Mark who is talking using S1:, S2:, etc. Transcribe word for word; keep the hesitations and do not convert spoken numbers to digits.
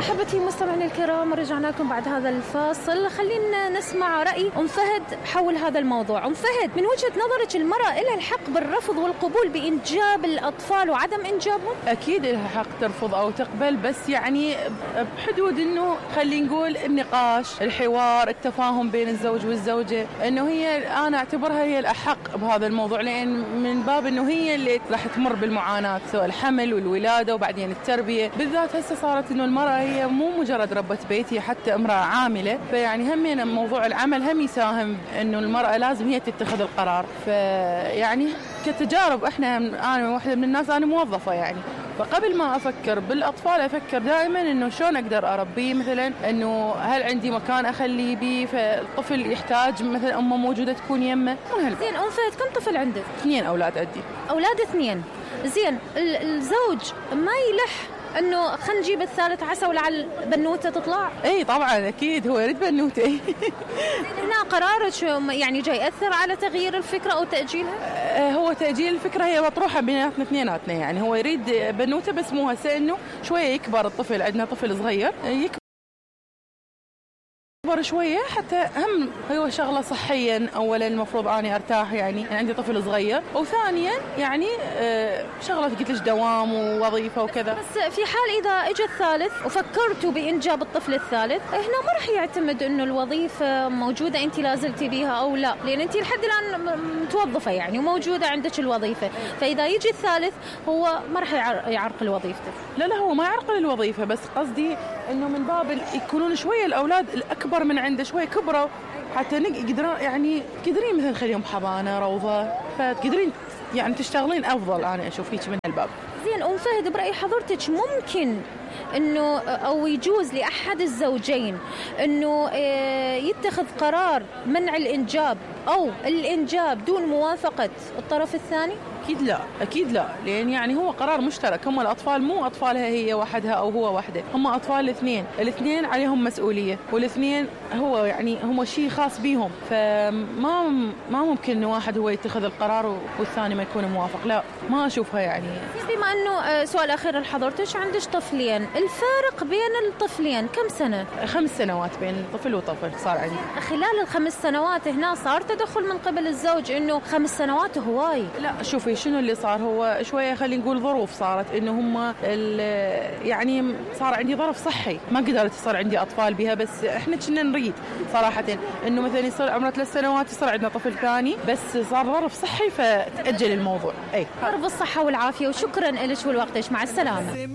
S1: أحبتي المستمعين الكرام، رجعنا لكم بعد هذا الفاصل. خلينا نسمع رأي أم فهد حول هذا الموضوع. أم فهد، من وجهة نظرك المرأة لها الحق بالرفض والقبول بإنجاب الأطفال وعدم إنجابهم؟
S2: أكيد لها حق ترفض أو تقبل، بس يعني بحدود إنه خلينا نقول النقاش، الحوار، التفاهم بين الزوج والزوجة، إنه هي أنا أعتبرها هي الأحق بهذا الموضوع، لأن من باب إنه هي اللي راح تمر بالمعاناة، سواء الحمل والولادة وبعدين التربية. بالذات هسه صارت إنه المرأة هي مو مجرد ربة بيت، هي حتى امرأة عاملة، فيعني هم موضوع العمل هم يساهم إنه المرأة لازم هي تتخذ القرار. فيعني كتجارب احنا، أنا واحدة من الناس، أنا موظفة يعني، فقبل ما أفكر بالأطفال أفكر دائما إنه شلون أقدر أربيه، مثلا إنه هل عندي مكان أخليه بيه، فالطفل يحتاج مثلا أمه موجودة تكون يمه.
S1: زين أم فهد، كم طفل عندك؟
S2: اثنين أولاد عندي.
S1: أولاد اثنين. زين الزوج ما يلح انه خلينا نجيب الثالث عسى ولعل بنوته تطلع؟
S2: اي طبعا اكيد هو يريد بنوته.
S1: هنا قرارك يعني جاي ياثر على تغيير الفكره او تاجيلها؟
S2: هو تاجيل الفكره هي مطروحه بيناتنا اثنيناتنا، يعني هو يريد بنوته بس مو هسه، انه شويه يكبر الطفل، عندنا طفل صغير يكبر شوية حتى هم هو شغلة صحيا. أولا المفروض أني أرتاح، يعني عندي طفل صغير، وثانيا يعني شغلة قلت لك دوام ووظيفة وكذا.
S1: بس في حال إذا إجا الثالث وفكرتوا بإنجاب الطفل الثالث، هنا ما راح يعتمد إنه الوظيفة موجودة أنت لازلتي بيها أو لا، لأن أنت لحد الآن متوظفة يعني وموجودة عندك الوظيفة، فإذا يجي الثالث هو ما راح يعرقل وظيفته.
S2: لا لا هو ما يعرقل الوظيفة، بس قصدي إنه من باب يكونون شوية الأولاد الأكبر من عنده شوي كبروا، حتى نقدر يعني تقدرين مثلا خليهم حضانة روضة، فتقدرين يعني تشتغلين أفضل. أنا أشوف هيك من هالباب.
S1: زين أم فهد، برأي حضرتك ممكن إنه أو يجوز لأحد الزوجين إنه يتخذ قرار منع الإنجاب أو الإنجاب دون موافقة الطرف الثاني؟
S2: أكيد لا، أكيد لا، لأن يعني هو قرار مشترك. هم الأطفال مو أطفالها هي وحدها أو هو وحده، هم أطفال الاثنين، الاثنين عليهم مسؤولية، والاثنين هو يعني هم شيء خاص بيهم، فما ما ممكن إنه واحد هو يتخذ القرار والثاني ما يكون موافق. لا، ما أشوفها يعني.
S1: بما إنه سؤال أخير لحضرتك، عندك طفلين، الفارق بين الطفلين كم سنة؟
S2: خمس سنوات بين طفل وطفل صار عندي.
S1: خلال الخمس سنوات هنا صار تدخل من قبل الزوج إنه خمس سنوات هواي؟
S2: لا شوفي شنو اللي صار، هو شوية خلينا نقول ظروف صارت، إنه هم يعني صار عندي ظرف صحي ما قدرت يصير عندي أطفال بها، بس إحنا كنا نريد صراحة إنه مثلا يصير عمره ثلاث سنوات يصير عندنا طفل ثاني، بس صار ظرف صحي فتأجل الموضوع. أي
S1: رب الصحة والعافية، وشكرا لك ولوقتك، مع السلامة.